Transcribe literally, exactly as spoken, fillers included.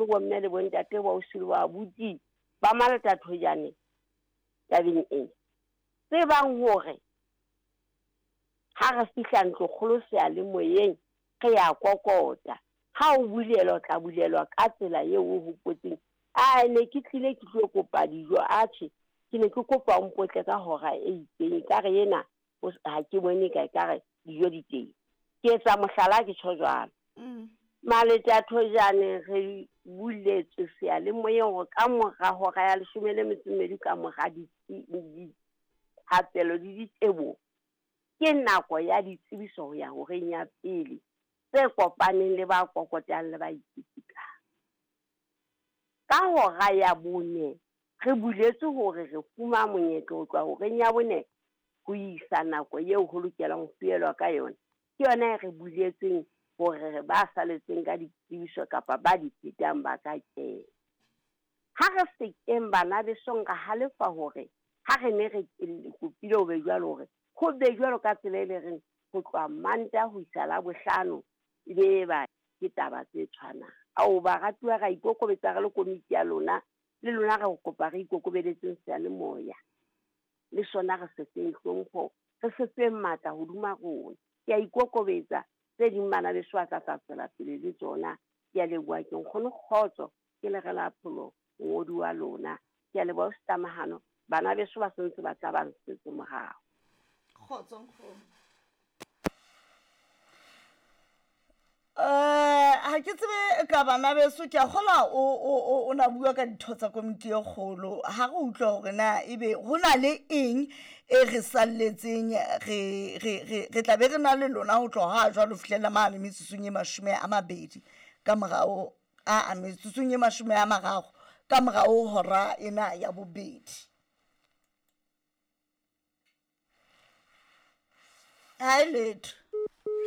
Bonkgono, bomme le bontate, boausi le boabuti ba Malatathojane tabeng ena. Tsebang hore ha re fihla ntlokgolo seyalemoyeng re ya kokota. Ha o bulelwa, o tla bulelwa ka tsela eo o hopotseng. A ne ke tlile ke tlo kopa dijo, atjhe ke ne ke kopa o mpotle ka hora e itseng, ekare ena ha ke bone ka ekare dijo di teng. Ke etsa mohlala ke tjho jwalo. Mm. Maletathojane re buletswe seyalemoyeng hore ka mora hora ya leshome le metso e mmedi ka mora dithapelo le diteboho, ke nako ya ditsebiso ho ya horeng ya pele tse kopaneng le ba kokotang le ba ipitikang. Ka hora ya bone re buletswe hore re fumana monyetla ho tloha horeng ya bone ho isa nako eo ho lokelang ho fielwa ka yona. Ke yona e re buletseng hore ba saletseng ka ditsebiso kapa ba di phetang ba ka kena. Ha re sekeng bana besong ra halefa hore ha re ne re kopile ho be jwalo, hore ho be jwalo ka tsela e le reng ho tloha Mantaha ho isa Labohlano e be ba ke taba tse tshwanang. Ao baratuwa, ra ikokobetsa re le komiti ya lona, le lona re kopa re ikokobeletseng seyalemoya. Le sona re se feng hlompho, re se feng matla hodima rona. Ke a ikokobetsa, tse ding bana beso ba tla tla tswela pele le tsona. Ke a leboha, ke nkgono Kgotso, ke le re la pholo mongodi wa lona. Ke a leboha Setamahano, bana beso ba sentse ba tla ba nsetse morao. Kgotso nkgono. Eh, ha ke tsebe ka bana beso, ke a kgolwa o, o, o, o na bua ka ditho tsa komiti e kgolo. Ha re utlwe hore na ebe ho na le eng e re salletseng, re, re, re, re tla be re na le lona ho tloha ha jwalo ho fihlela mane metsotsong e mashome a mabedi ka morao, a, a metsotsong e mashome a mararo ka morao hora ena ya bobedi. Ha e letho.